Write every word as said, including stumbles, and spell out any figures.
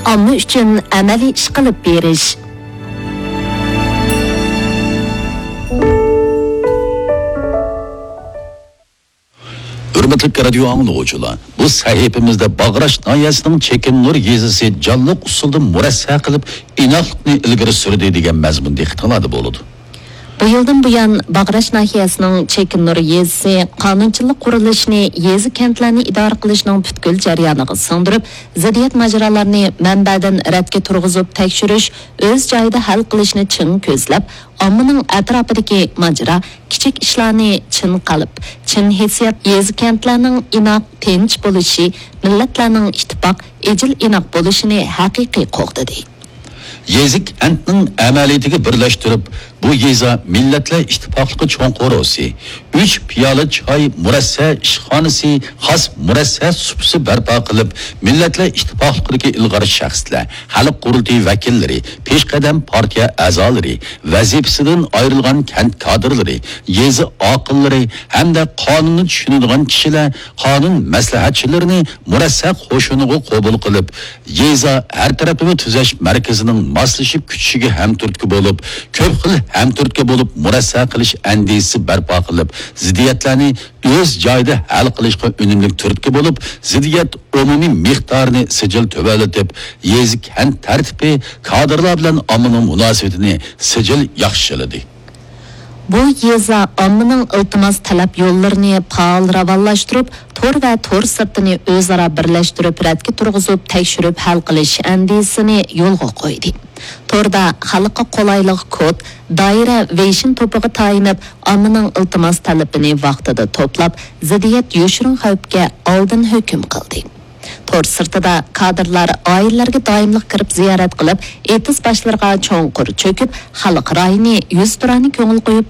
ئامما ئۈچۈن ئەمەلىي ئىش قىلىپ بېرىش. ھۆرمەتلىك رادىيو ئاڭلىغۇچىلار، بۇ سەھىپىمىزدە باغراش ناھىيەسىنىڭ چېكىننۇر يېزىسى جانلىق ئۇسۇلدا مۇرەسسە قىلىپ، ئىناقلىقنى ئىلگىرى سۈردى دېگەن مەزمۇن دىققىتىڭلاردا بولىدۇ. بۇ يىلدىن بۇيان، باغراش ناھىيەسىنىڭ چېكىننۇر يېزىسى قانۇنچىلىق قۇرۇلۇشىنى يېزا، كەنتلەرنى ئىدارە قىلىشنىڭ پۈتكۈل جەريانىغا سىڭدۈرۈپ، زىددىيەت ماجىرالارنى مەنبەدىن رەتكە تۇرغۇزۇپ تەكشۈرۈش، ئۆز جايىدا ھەل قىلىشنى چىڭ كۆزلەپ، ئاممىنىڭ ئەتراپىدىكى ماجىرا، كىچىك ئىشلارنى چىن قەلب، چىن ھېسسىيات، يېزا، كەنتلەرنىڭ ئىناق، تىنچ بولۇشى، مىللەتلەرنىڭ ئىتتىپاق، ئىجىل، ئىناق بولۇشىنى ھەقىقىي قوغدىدى. يېزا، كەنتنىڭ ئەمەلىيىتىگە بىرلەشتۈرۈپ، بۇ يېزا مىللەتلەر ئىتتىپاقلىقى چوڭ قورۇسى، ئۈچ پىيالە چاي مۇرەسسە ئىشخانىسى، خاس مۇرەسسە سۇپىسى بەرپا قىلىپ، مىللەتلەر ئىتتىپاقلىقىدىكى ئىلغار شەخسلەر، خەلق قۇرۇلتىيى ۋەكىللىرى، پېشقەدەم پارتىيە ئەزالىرى، ۋەزىپىسىدىن ئايرىلغان كەنت كادىرلىرى، يېزا ئاقىللىرى ھەمدە قانۇننى چۈشىنىدىغان كىشىلەر قانۇن مەسلىھەتچىلىرىنى مۇرەسسە قوشۇنىغا قوبۇل قىلىپ، يېزا ھەر تەرەپلىمە تۈزەش مەركىزىنىڭ ماسلىشىپ كۈچىشىگە ھەمتۈرتكە بولۇپ، كۆپ خىل ھەمتۈرتكە بولۇپ مۇرەسسە قىلىش ئەندىزىسى بەرپا قىلىپ، زىددىيەتلەرنى ئۆز جايىدا ھەل قىلىشقا ئۈنۈملۈك تۈرتكە بولۇپ، زىددىيەت ئومۇمىي مىقدارىنى سىجىل تۆۋەنلىتىپ، يېزا، كەنت تەرتىپى، كادىرلار بىلەن ئاممىنىڭ مۇناسىۋىتىنى سىجىل ياخشىلىدى. بۇ يېزا ئاممىنىڭ ئىلتىماس، تەلەپ يوللىرىنى پائال راۋانلاشتۇرۇپ، تور ۋە تور سىرتىنى ئۆزئارا بىرلەشتۈرۈپ، رەتكە تۇرغۇزۇپ تەكشۈرۈپ ھەل قىلىش ئەندىزىسىنى يولغا قويدى. توردا خەلققە قولايلىق كود، دائىرە، ۋېيشىن توپىغا تايىنىپ، ئاممىنىڭ ئىلتىماس، تەلىپىنى ۋاقتىدا توپلاپ، زىددىيەت، يوشۇرۇن خەۋپكە ئالدىن ھۆكۈم قىلدى. تور سىرتىدا كادىرلار ئائىلىلەرگە دائىملىق كىرىپ زىيارەت قىلىپ، ئېتىز باشلىرىغا چوڭقۇر چۆكۈپ، خەلق رايىنى يۈزتۇرانە كۆڭۈل قويۇپ